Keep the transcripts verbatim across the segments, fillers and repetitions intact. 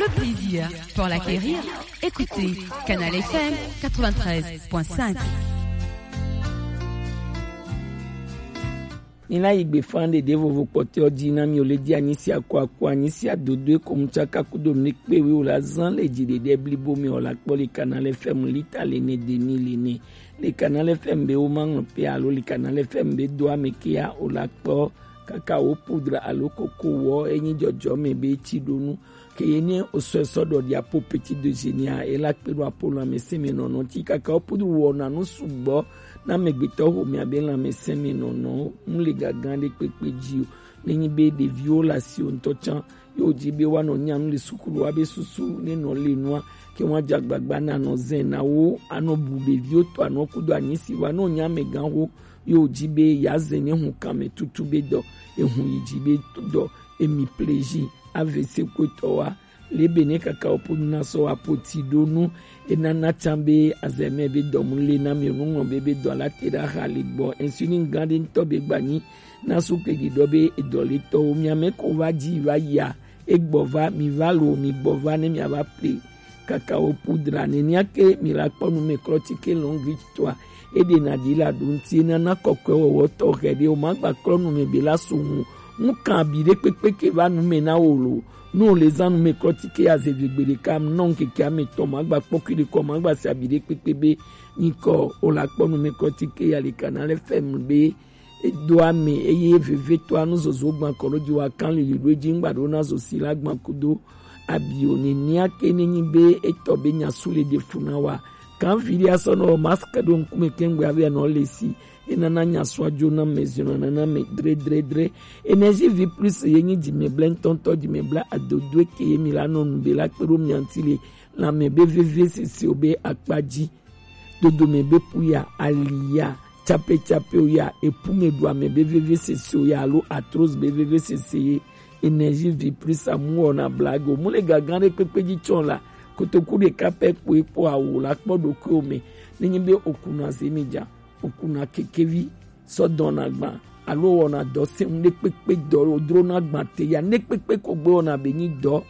Le plaisir pour l'acquérir, écoutez Canal F M quatre-vingt-treize point cinq. Mina yi gbe fan ɖeɖe vovo kpɔtɔ ji na mi o le di anyi sia ko aku anyi sia dodo e ko mu tsaka kudo mi kpe wi o la zan le ji ɖeɖe blibo mi o la kpɔ le Canal F M lita le ne demi le ne le Canal F M be wo ma ŋlɔ pe alo le Canal F M be do ame ke ya o la kpɔ kaka wo poudre alo koko wɔ enyi jɔjɔ me be tsi ɖo nu ke ye ne o sɔ sɔ ɖɔ ɖi apo petit déjeuner a e la kpe ɖo apo lãmesẽ me nɔnɔ ti kaka wo poudre wɔna nu sugbɔ na amegbetɔ xomea be lãmesẽ me nɔnɔ mu le gaga ɖe kpekpe ji o. Ne nyi be ɖeviwo le asi o ŋutɔ tsã ye wòdzi be woanɔ nya nu le sukulu wa be susu ne nɔ le nua ke woadze agbagba na nɔ zɛ na wo anɔ bu ɖeviwo to anɔ kudo anyi si wa ne wònye amegã xo ye wòdzi be yeazɛ ne hu kame tutu be dɔ ehu yi dzi be dɔ emi pleji avese kotɔ wa le be ne kaka wo ƒo nu na sɔ wa ƒo ti ɖo nu enana tsã be azɛmɛ be dɔ mu le na mi nu ŋlɔ be be dɔ la te ɖe axa le gbɔ insulin gã ɖe ŋutɔ be gbanyi na sukle ɖiɖɔ be edɔletɔwo miame ko va dzi va yia egbɔ va mi va lo mi gbɔ va ne miava ple kakawo poudre nenia ke mi la kpɔ numeklɔti ke lɔngri toa eɖena ɖi la ɖo ŋuti enana kɔkɔe wɔwɔ tɔxɛ ɖe o ma gba klɔ nume be la so ŋu ŋu kan abi ɖe kpekpe ke va nume na wo lo nu o le zan numeklɔti ke ya zevi gbe ɖeka nɔ ŋkeke ame tɔ ma gba kpɔ kui ɖe kɔ ma gba se abi ɖe kpekpe be nyikɔ o la kpɔ numeklɔti ke ya le kana le fɛm be edo ame eye vevietɔa nuzozo gbã kɔ ɖo dzi wa kan lili ɖo edzi ŋgba ɖo na zo si la gbã kudo abi o nenia ke ne nyi be etɔ be nya su le ɖe fu na wa kan vi ɖe asɔ nɔ mask ɖo ŋkume ke ŋgbe ave nɔ le si enana nya sua dzo na me zina nana me dre dre dre energie vie plus ye nyi dzime ble ŋtɔŋtɔ dzime ble adodo ke ye mi la nɔ nu be la kpe ɖo mia ŋti le lãme be veve sese o be akpa dzi dodome be pu ya ali ya tsapetsapewo ya epu me ɖu ame be veve sese o ya alo arthrose be veve sese ye energie vie plus amu wɔna blague o mu le gagã ɖe kpekpe dzi tsɔ la kotoku ɖeka pɛ kpoe kpɔ awu la kpɔ ɖokuiwo me ne nyi be okuna zemi dza okuna kekevi sɔ dɔna gbã alo wɔna dɔ sɛŋ ɖe kpekpe dɔ wodrona gbã te ya ne kpekpe ko gbe wɔna be nyi dɔ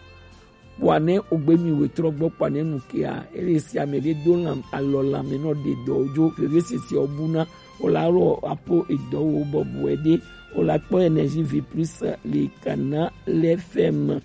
kpɔa ne ogbe mi wetrɔ gbɔ kpɔa ne nu kea ele si ame ɖe do lam alɔ lame nɔ ɖe dɔ dzo veve sisi ɔbuna o la rɔ apo edɔ wo bɔbɔe ɖe o la kpɔ energie vie plus le kana le fɛm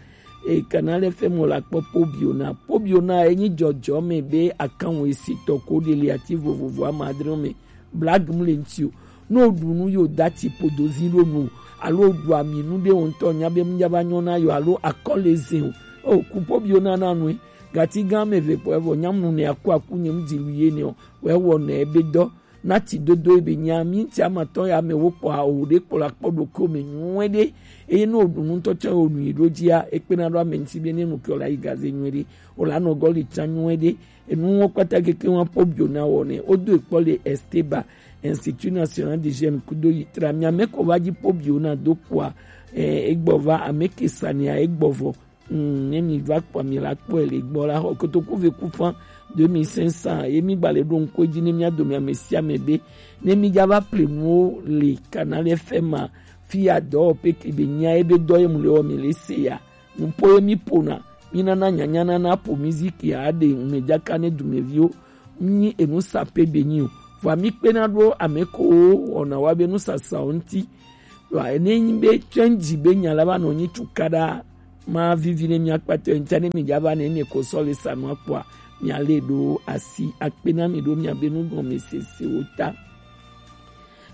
e kana le fɛm o la kpɔ pobiona pobiona enyi jɔjɔ me be akanwo esi tɔ ko ɖe le ati vovovo ama adre me blague mu le ŋti o ne o ɖu nu ye o da tsi ƒodo zi ɖo nu o alo o ɖu ami nu ɖe o ŋutɔ nya be ŋdza va nyɔ na yɔ alo akɔ le zin o o kupo bi o nana nue gati gã ame eve kpɔ evɔ nyamnu ne aku aku nye ŋdi lu ye ne o wɔ ewɔ ne ebe dɔ na tsi dodo ebe nya mi ŋti amatɔ ya me wo kpɔ o ɖe kpɔ la kpɔ ɖo ko me nyuɛ ɖe eye ne o ɖu nu ŋutɔ tsɔ o nu yi ɖo dzia ekpena ɖo ame ŋti be ne nu ke o la yi gaze nyuɛ ɖe o la nɔ gɔli tsa nyuɛ ɖe Enuwo kpata keke wa po bio na wɔ nɛ. Wodo ekpɔ le Esteba, Institut National de Jeunes kudo yi tra. Mi ame ko va dzi po bio na do kpoa, eh, egbɔ va ame ke sania egbɔ vɔ. Mm, ne mi va kpɔ mi la kpɔe le gbɔ la xɔ kotoku ve ku fan deux mille cinq cents ye mi gba le ɖo ŋkɔ dzi ne mia dome ame sia ame be ne mi dza va ple nuwo le Canal F M a fi ya dɔ pe ke be nya ebe dɔ ye mu le wɔ mi le se ya. Nuƒo ye mi ƒona, mi nana nyanya nana ƒo miziki aɖe ŋmedzaka ne dumeviwo. Nyi enu sape be nyi o. Vɔa mi kpena ɖo ame ko wɔna wa be nusasawo ŋuti. Vɔa ne nyi be tsɛnji be nya la va nɔ nyi tukaɖa ma vivi ne mia kpatɔ ŋuti ne mi dza va ne mi ko sɔ le sa nua kpɔa mia le ɖo asi akpe na mi ɖo mia be nugɔmesesewo ta.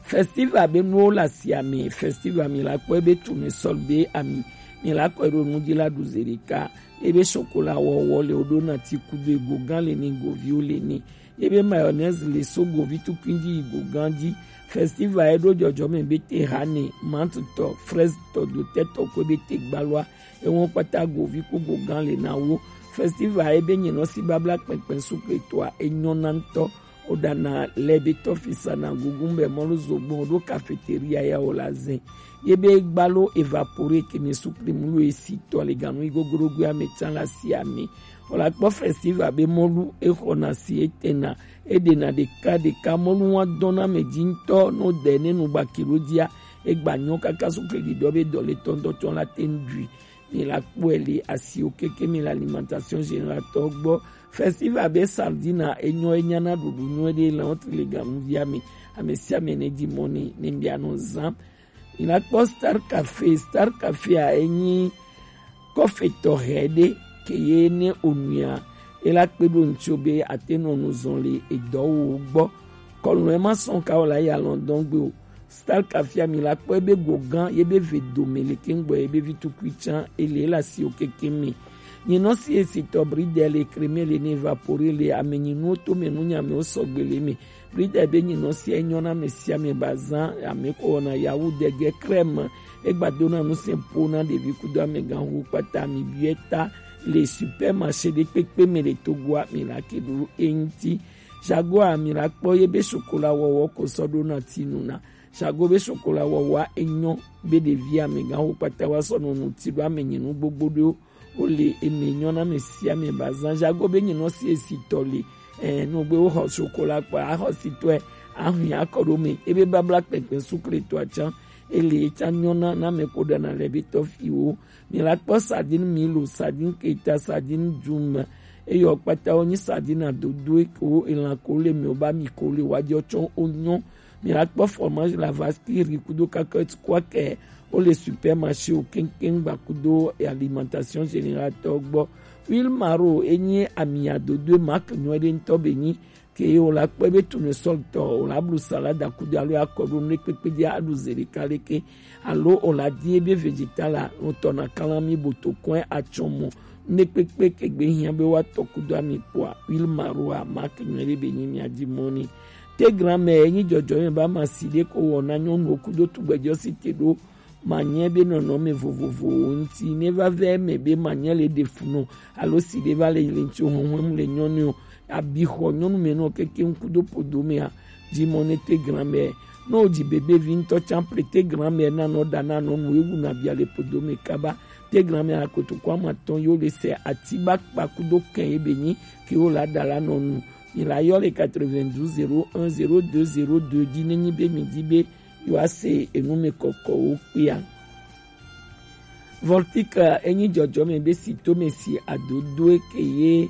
Festival be nuwo le asia me. Festival mi la kpɔ ebe tu mi sɔl be ami mi la kɔ ɖo nu dzi la ɖu ze ɖeka. Ebe chocolat wɔwɔ le woɖo na ti kudo ego gã le ni goviwo le ni. Ebe mayonnaise le so govi tukui dzi yi go gã dzi. Festival eɖo dzɔdzɔ me be te hane mantutɔ fraise tɔ dotɛtɔ ko ebe te gbalua. Ewo kpata govi ko go gã le na wo. Festival ebe nyinɔ si babla kpɛkpɛ sukle toa enyɔ na ŋutɔ. Woɖana lɛ be tɔfisa na gugu be mɔlu zogbɔn ɖo cafeteria ya wo la zɛ. Ye be gbalo evapore ke mi sukli mulu esi tɔ le ganu igogorogoe ame tsa la si ame. Wo la kpɔ festival be mɔlu exɔna si etena eɖena ɖeka ɖeka mɔlu wa dɔna ame dzi ŋutɔ no de ne nu gbaki ɖo dzia egba nyɔ kaka sukli ɖiɖɔ be dɔ le tɔntɔtɔ la te ŋdui. Mi la kpɔe le asiwo keke mi le alimentation générale tɔ gbɔ. Festival be sardine enyo enyana ɖuɖu nyuie ɖe le wotri le ganuvi ame. Ame sia ame ne di mɔ ni ne bia no zã. Mi la kpɔ Star Café. Star Café a enyi kɔfe tɔxɛ ɖe ke ye ne onuia e la kpe ɖo ŋutsu be ate nɔ nu zɔn le edɔwo gbɔ. Kɔlɔn ema sɔn ka o la ya lɔndɔn gbe o. Star Café a mi la kpɔ ebe go gã ye be ve dome le ke ŋgbɔ ye be vi tukui tsã ele la si o keke mi. Nyi nɔ si esi tɔ bridel le creme le ne évapore le ame nyi nuwo to me nu nya me o sɔgbe le me. Bridel be nyi nɔ si enyo na me si ame ba zã ame ko wɔna yawu dege crème. Egba do na nu se po na ɖevi kudo amegã hu kpata mi biɛ ta le supermarché ɖe kpekpe me le Togo a mi la ke ɖo eŋti. Jago a mi la kpɔ ye be chocolat wɔwɔ ko sɔ ɖo na ti nu na. Jago be chocolat wɔwɔ a enyo be ɖevi amegã hu kpata wa sɔ nɔ nu ti ɖo ame nyi nu gbogbo ɖo. Wo le eme nyɔ na me si ame ba zã. Jago be nyi nɔ si esi tɔ le. Eh, no gbe wo xɔ chocolat kpa a xɔ si tɔe a hwi akɔ ɖo me. Ebe babla kpɛkpɛ sukle to a tsã. Ele tsã nyɔ na na me ko ɖana le be tɔ fi wo. Mi la kpɔ sardine Milo, sardine Keta, sardine Djum. Eyɔ kpata wo nyi sardine adodoe ko elan ko le mi o ba mi ko le wa jɔ tsɔ o nyɔ. Mi la kpɔ fromage la vache qui rit kudo cacahuète quoi que o le supermarché o keŋkeŋ gba kudo alimentation générale tɔ gbɔ. Huile maro enyi ami adodoe marque nyuie ɖe ŋutɔ be nyi. Ke o la kpɔe be tournesol tɔ o la blu salade akudo alo akɔɖo nu ɖekpekpe dzi aɖu ze ɖeka leke alo o la di ebe vegetal a ŋutɔ na kalami boto kɔe atsɔ mɔ nu ɖekpekpe ke gbe hiã be woatɔ kudo ami kpɔa huile maro a marque nyuie ɖe be nyi mia di mɔ ni. Te grand-mère enyi jɔjɔ me ba ma si ɖe ko wɔ na nyɔnuwo kudo tugbɛjɔ si te ɖo manyɛ be nɔnɔme vovovowo ŋuti ne va vɛ eme be manyɛ le ɖe fu nɔ alo si ɖe va le yi le ŋuti o hɔnhɔn mu le nyɔnu o abi xɔ nyɔnu me nɔ keke ŋku do podo mea. Dzi mɔ ne te grand-mère ne o dzi bebe vi ŋutɔ tsã ple te grand-mère na nɔ ɖa na nɔnu ewu na bia le podo me kaba. Te grand-mère akotoku amatɔn yo le se ati ba kpa kudo kɛn ye be nyi ke wo la ɖa la nɔnu. Mi la yɔ le quatre-vingt-douze zéro un zéro deux zéro deux dzi ne nyi be mi di be yewoase enumɛ kɔkɔwo kpea. Voltika enyi jɔjɔme be si tome si adodoe ke ye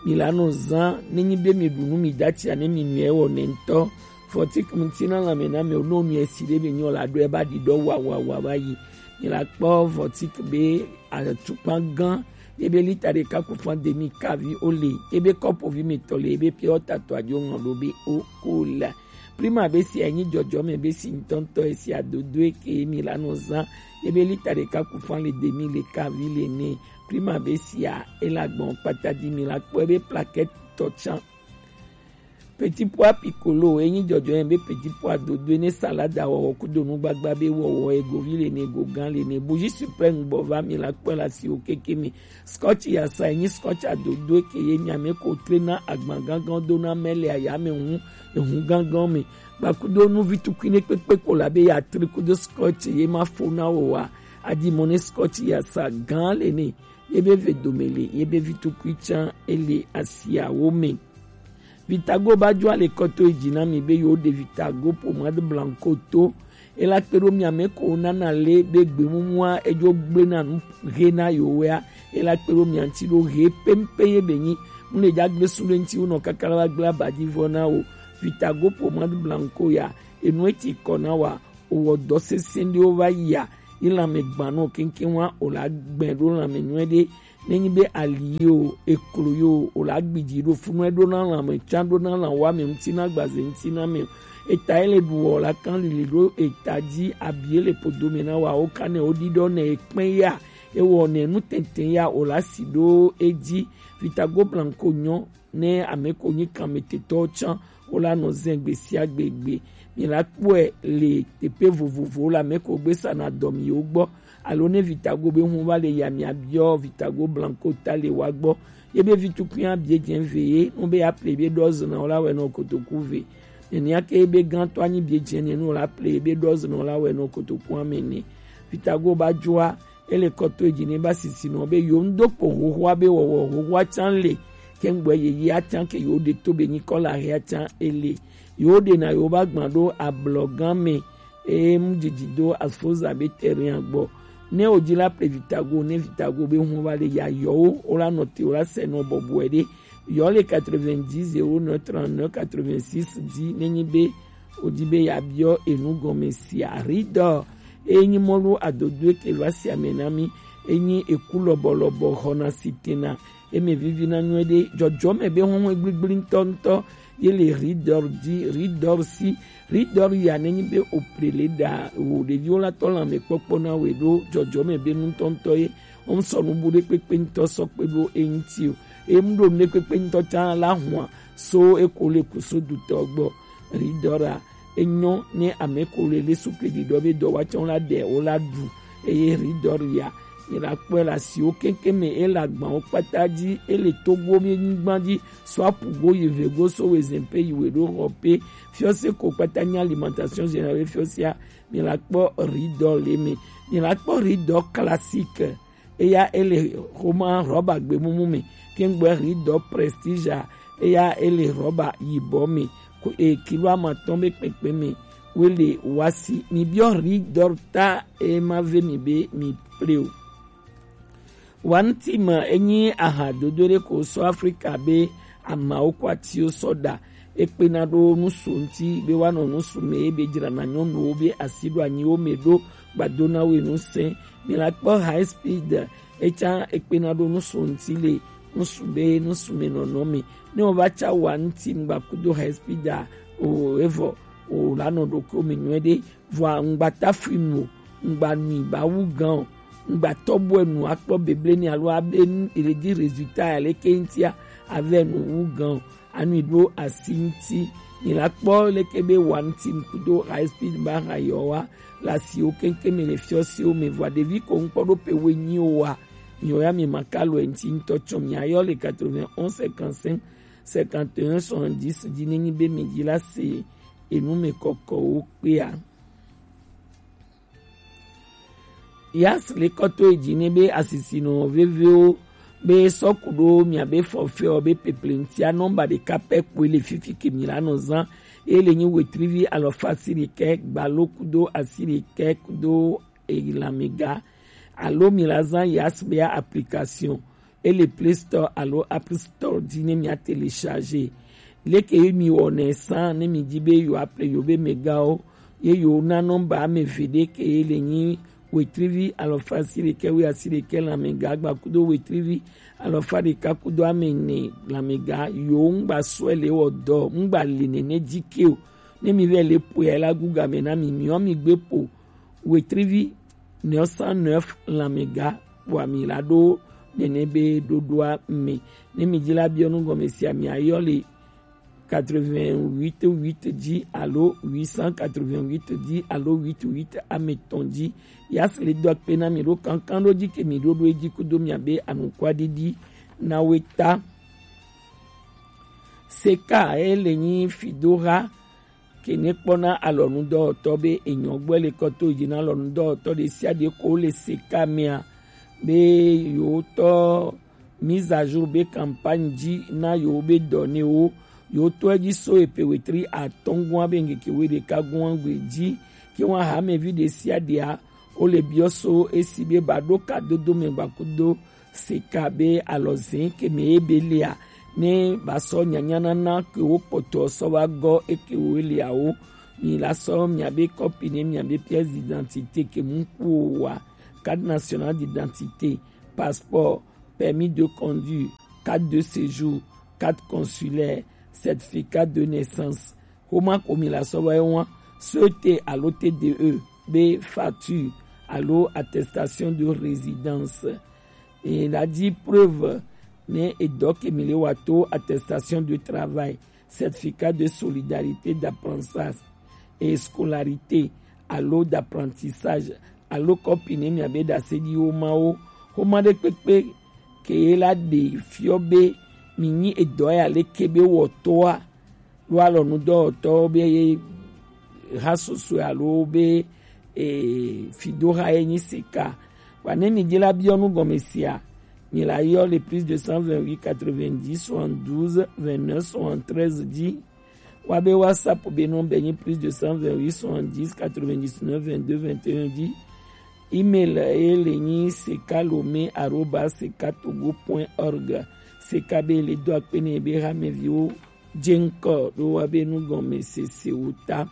mi la nɔ zã ne nyi be mi ɖu nu mi da tsia ne mi nua ewɔ nɛ ŋutɔ. Voltik ŋuti na lãme na me no nu esi ɖe be nyɔ la ɖo eba ɖi ɖɔ wa wa wa va yi. Mi la kpɔ voltik be atukpa gã ebe lita ɖeka ku fan demi kavi o le ebe kɔpo vi mi tɔ le ebe pia o tato adzo ŋɔ ɖo be o ko la. Prima be si enyi jɔjɔme be si ŋutɔŋutɔ esi adodo eke mi la nɔ zã ebe lita ɖeka ku fan le demi le kavi le ne. Prima be sia ela gbɔn kpata di mi la kpɔ ebe plaquette tɔ tsã. Petit pois piccolo enyi jɔjɔme be petit pois dodo ne salada wɔwɔ kudo nugbagba be wɔwɔ egovi le ne gogan le ne buji supreme gbɔ va mi la kpɔ la si o keke mi. Scotch yasa enyi scotch adodo eke ye mi ame ko tre na agban gangan do na mele aya me hu ehu gangan me. Gbakudo nu vi tukui ne kpekpe ko la be ya tri kudo scotch ye ma fo na wo wa. Adi mo ne scotch yasa gan le ne ye be ve dome le ye be vi tukui tsã ele asia wo me. Vitago ba jo ale kɔto eji na mi be yo de Vitago pomade blanco to. Ela kpe ɖo mia me ko nana le be gbemumua edzo gble na nu he na yo wea. Ela kpe ɖo mia ŋuti ɖo he pempe ye be nyi. Mu le dza gble su ɖe ŋuti wo nɔ kaka la va gble abadi vɔ na wo. Vitago pomade blanco ya enu eti kɔ na wa. Owɔ dɔ sese ɖewo va yia. Yi lãme gbã nɔ keŋkeŋ wa o la gbɛ ɖo lãme nyuie ɖe. Ne nyi be ali ye o eklo ye o o la gbidzi ɖo funu eɖo na lãme tsã ɖo na lã wa me ŋuti na gbaze ŋuti na me o. Eta ele ɖu wɔ la kan lili ɖo eta dzi abi ele podo me na wa wo kan ne wo ɖiɖɔ ne ekpɛ ya ewɔ ne nu tɛntɛn ya o la si ɖo edzi. Vitago blanco nyɔ ne ame ko nyi kanmetetɔwo tsã wo la nɔ zɛ gbe sia gbe gbe. Mi la kpɔe le teƒe vovovowo le ame ko gbe sana dɔ mi yewo gbɔ alo ne Vitago be ŋu va le ya mi abiɔ Vitago blanco ta le wa gbɔ. Ye be vi tukui abie dze ve ye nu be ya ple be dɔzɔ na wo la wɛ nɔ kotoku ve. Nenia ke be gãtɔ anyi bie dze ne nu la ple be dɔzɔ na wo la wɛ nɔ kotoku ame ne. Vitago ba joa ele kɔto edzi ne ba sisi nɔ be yo ŋdo kpo xoxoa be wɔwɔ xoxoa tsã le. Ke ŋgbɔ yeyea tsã ke yo ɖe to be nyikɔ la hea tsã ele. Yo ɖe na yo ba gbã ɖo ablɔ gã me eye mu dzidzi do afoza be terrain gbɔ. Ne o ji la ple Vitago, ne Vitago be hun va le ya yɔ wo, o la nɔ te, o la sɛ nɔ bɔbɔɛ ɖe. Yɔ le quatre-vingt-dix zéro neuf trente-neuf quatre-vingt-six ji, ne nyi be o ji be ya biɔ enu gɔme sia. Ridɔ, e nyi mɔlu adodo ke va si ame na mi, e nyi eku lɔbɔlɔbɔ xɔna si tena, e me vivi na nyuie ɖe. Jɔjɔme be hɔn gbligbli ŋutɔ ŋutɔ, ye le Ridor di, Ridor si, Ridor ya ne nyi be o ple le ɖa o ɖeviwo la tɔ lanmekpɔkpɔ na we ɖo jɔjɔme be ŋutɔŋutɔ ye. Wɔn sɔ nubu ɖe kpekpe ŋutɔ sɔ kpe ɖo eŋuti o. Em ɖo nu ɖe kpekpe ŋutɔ tsã la hua so eko le kuso dutɔ gbɔ. Ridora, enyɔ ne ame ko le le su kpe ɖiɖɔ be dɔ wa tsã la ɖe o la ɖu. Eye Ridor ya, mi la kpɔe le asiwo keŋkeŋ me, e le agbawo kpata dzi, e le Togo be nyigba dzi, so apu go yi ve go so we zɛn pe yi we ɖo xɔ pe. Fiɔse ko kpata nyi alimentation générale fiɔsea, mi la kpɔ Ridor le me. Mi la kpɔ Ridor classique, eya e le xoma rɔba gbemumu me. Kengbe Ridor prestige a, eya e le rɔba yibɔ me. Ko e kilo amatɔn be kpekpe me. We le wasi. Mi biɔ Ridor ta e ma ve mi be mi ple o. Wantima enyi aha dodo ɖe ko sɔ Afrika be amawo ko atiwo sɔ ɖa. Ekpena ɖo nusu ŋuti be woanɔ nusu me be dzrana nyɔnuwo be asi ɖo anyiwo me ɖo gbado na wo nu sɛn. Mi la kpɔ High Speed, etsã ekpena ɖo nusu ŋuti le nusu be nusu me nɔnɔ me. Ne wo va tsa Wantima kudo High Speed a, o evɔ o la nɔ ɖokuiwo me nyuie ɖe. Vɔa ŋgba tafui nu o, ŋgba nui ba wu gan o, ŋgba tɔbɔe nu akpɔ beble ni alo abe nu ele di résultat ya leke ŋutia, avɛ nu wu gan o. Anui ɖo asi ŋuti. Mi la kpɔ leke be Wantima kudo High Speed ba ha yɔ wa le asiwo keŋkeŋ me le fiɔsiwo me. Vɔa ɖevi ko ŋkpɔ ɖo pe we nyi o wa. Mi ya mi ma ka lo ŋuti ŋutɔ tsɔ mi ayɔ le quatre-vingt-onze cinquante-cinq cinquante et un soixante-dix ji ne nyi be mi ji la se enu me kɔkɔwo kpea. Yas le kɔto edzi ne be asisinɔ vevewo be sɔ ku ɖo miabe forfait be peple ŋutia nɔmba ɖeka pɛ kpoe le fifi ke mi la nɔ zan. Ye le nyi wetrivi alɔfa asiɖekɛ gbalo kudo asiɖekɛ kudo elamega. Alo mi la zan Yas be application. Ele Play Store alo App Store dzi ne mia télécharger. Leke ye mi wɔnɛ san ne mi di be yewo aple yewo be megawo, ye yewo na nɔmba ame eve ɖe ke ye le nyi wetrivi alɔfa asiɖekɛ wi asiɖekɛ lamega gba kudo wetrivi alɔfa ɖeka kudo ame ene lamega. Yewo ŋgba sɔe le wɔ dɔ, ŋgba le nene dzi ke o. Ne mi vɛ le poe la gu game na mi, miɔ mi gbe po wetrivi neuf cent neuf lamega kpoa mi la ɖo nene be ɖoɖoa me. Ne mi dzi la biɔ nu gɔme sia mi ayɔ le quatre-vingt-huit huit dzi alo huit cent quatre-vingt-huit dzi alo huit huit ame etɔ̃ dzi. Yas le do akpe na mi ɖo kankan ɖo dzi ke mi ɖo ɖo edzi kudo miabe anukwaɖiɖi na we ta. Seka ele nyi fidoha ke ne kpɔna alɔnudɔwɔtɔ be enyɔ gbɔ le kɔ to dzi na alɔnudɔwɔtɔ ɖe sia ɖe ko le seka mea be yewo tɔ mise à jour be campagne dzi na yewo be dɔ ne wo yewo tɔ edzi so epe wetri atɔ̃ gua be ŋkeke we ɖeka gua gbe dzi ke wa hamevi ɖe sia ɖea wo le biɔ so esi be ba ɖo ka dodo me gba kudo seka be alɔzẽ ke me ye be lia ne ba sɔ nyanyanana ke wo kpɔtɔ sɔ va gɔ eke wo lia wo. Mi la sɔ miabe kɔpi ne miabe pièce d'identité ke mu ku wo wa, carte nationale d'identité, passeport, permis de conduire, carte de séjour, carte consulaire, certificat de naissance. Xoma ko mi la sɔ va ye wa, S T alo T D E be facture alo attestation de résidence. E la di preuve ne edɔ ke mi le wa to attestation de travail, certificat de solidarité d'apprentissage et scolarité alo d'apprentissage alo kɔpi ne miabe ɖaseɖiwo ma wo. Xoma ɖe kpekpe ke ye la ɖe fiɔ be mi nyi edɔ ya leke be wɔtɔa lo alɔnudɔwɔtɔ be ha soso alo be e, fidoha ye nyi sika. Wa ne mi dzi la biɔ nu gɔme sia, mi la yɔ le plus de cent vingt-huit quatre-vingt-dix soixante-douze vingt-neuf soixante-treize dzi. Wa be WhatsApp be nɔmba nyi plus de cent vingt-huit soixante-dix quatre-vingt-dix-neuf vingt-deux vingt et un dzi. Email ye le nyi sekalome arobase sekatogo point org. Seka be le do akpe ne be hameviwo je ŋkɔ ɖo wa be nugɔmesese wo ta.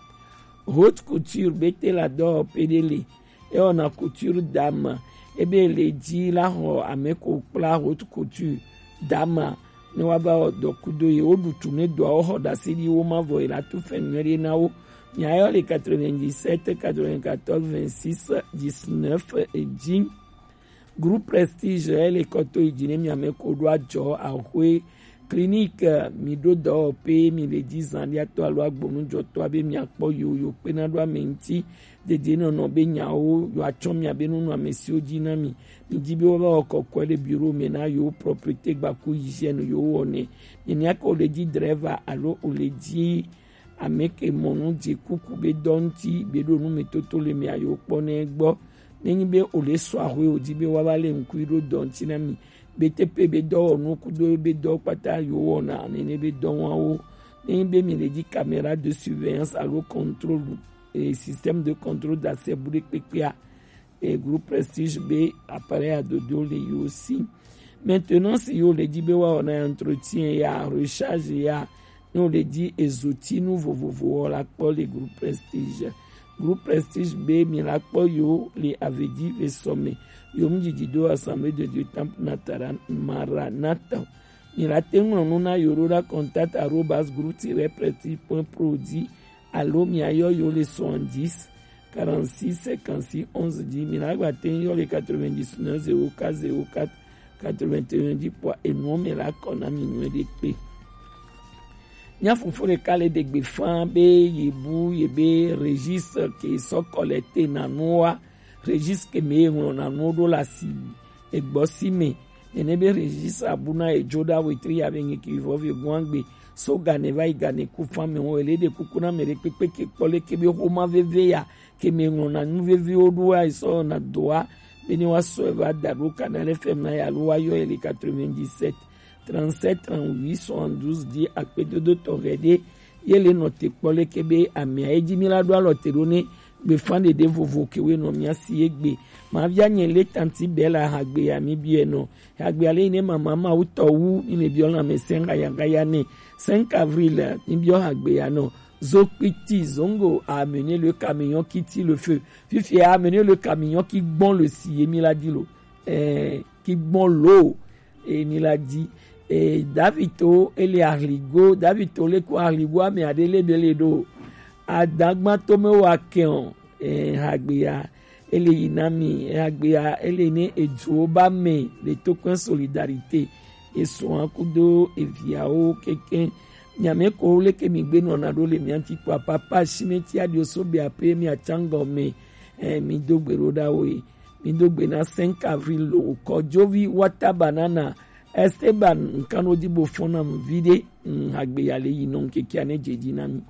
Haute couture be te la dɔwɔƒe ɖe le, ewɔna couture dame, ebe le dzi la xɔ ame ko kpla haute couture dame ne wa va wɔ dɔ kudo ye. Wo ɖu tu ne dɔa wo xɔ ɖase ɖi wo ma vɔ ye la tu fɛn nyuie ɖe na wo. Mia yɔ le quatre-vingt-dix-sept quatre-vingt-quatorze vingt-six dix-neuf dzi. Groupe Prestige ele kɔ to yi dzi ne mia me ko ɖo adzɔ axwe clinique mi ɖo dɔwɔƒe mi le dzi zan ɖi atɔ alo agbɔnujɔtɔ abe mia kpɔ yo yo kpe na ɖo ame ŋuti dede nɔnɔ be nyawo yo atsɔ mia be nunu ame siwo dzi na mi. Mi dzi be wo va wɔ kɔkɔe le bureau me na yo propreté gbaku hygiène yo wɔnɛ. Mi nya ke o le dzi driver alo o le dzi ame ke mɔ nu dze kuku be dɔ ŋuti be ɖo nu me toto le mia yo kpɔ ne gbɔ. Ne nyi be o le sɔ axwe o dzi be wa va le ŋkui ɖo dɔ ŋuti na mi. Be te pe be dɔwɔnu kudo be dɔ kpata yo wɔna nene be dɔ wawo. Ne nyi be mi le dzi caméra de surveillance alo contrôle, eh, système de contrôle d'accès bu ɖe kpekpea, eh, groupe Prestige be appareil adodo le yo si. Maintenance yo le dzi be wa wɔna entretien ya, recharge ya, ne wo le dzi ezotinu vovovo wɔ la kpɔ le groupe Prestige. Groupe Prestige be mi la kpɔ yo le Avedi ve sɔme yo mu dzidzi do Assemblée de Dieu Temple Natara Maranatha. Mi la te ŋlɔ nu na yo ɖo ɖa contact arobase groupe tiret prestige point pro dzi alo mia yɔ yo le soixante-dix quarante-six cinquante-six onze dzi. Mi la gba te yɔ le quatre-vingt-dix-neuf zéro quatre zéro quatre quatre-vingt-un dzi kpɔ enuwo me la kɔ na mi nyuie ɖe kpe. Mia fofo ɖeka le ɖe gbe fã be ye bu ye be registre ke sɔ collecte na nu wa, registre ke me ye ŋlɔ na nuwo ɖo le asi egbɔ si me. Nene be registre abu na edzo ɖa wetri ya be ŋke vɔ ve guan gbe so gane va yi gane ku fã me wo ele ɖe kuku na me ɖe kpekpe ke kpɔ le ke be xoma veve ya ke me ŋlɔ na nu veviwo ɖo wa sɔ na doa be ne wa sɔ va da ɖo Canal F M na ya alo wa yɔ ele quatre-vingt-dix-sept trente-sept trente-huit soixante-douze dzi akpedodo tɔxɛ ɖe ye le nɔ te kpɔ leke be amea ye dzi mi la ɖo alɔ te ɖo ne gbefa ɖeɖe vovo ke we nɔ mia si ye gbe. Ma via nye le tanti bela hagbe ya mi biɛ nɔ hagbe ale ne mama ma wutɔ wu mi le biɔ lame sɛn gaya gaya ne cinq avril mi biɔ hagbe ya nɔ zokpiti zongo a amené le camion qui tire le feu. Fifi a amené le camion qui gbɔn le si ye mi la di lo. Eh, qui gbɔn lo. Emi la di e David to ele ahligo David to le ko ahligo ame ade le bele do adagba to me wa keon e hagbeya ele yi na mi e hagbeya ele ne edzo ba me le to kwen solidarité e so an kudo e viawo keke nyame ko le ke mi gbe no na do le mi anti kwa papa shimeti adio so be ape mi achango me e mi do gbero da wo e Mi do gbe na cinq avril lo kɔ jovi wata banana Esteban nkan no di bo fɔn na mu vi ɖe. Hagbe ya le yi nɔ kekia ne dze dzi na mi.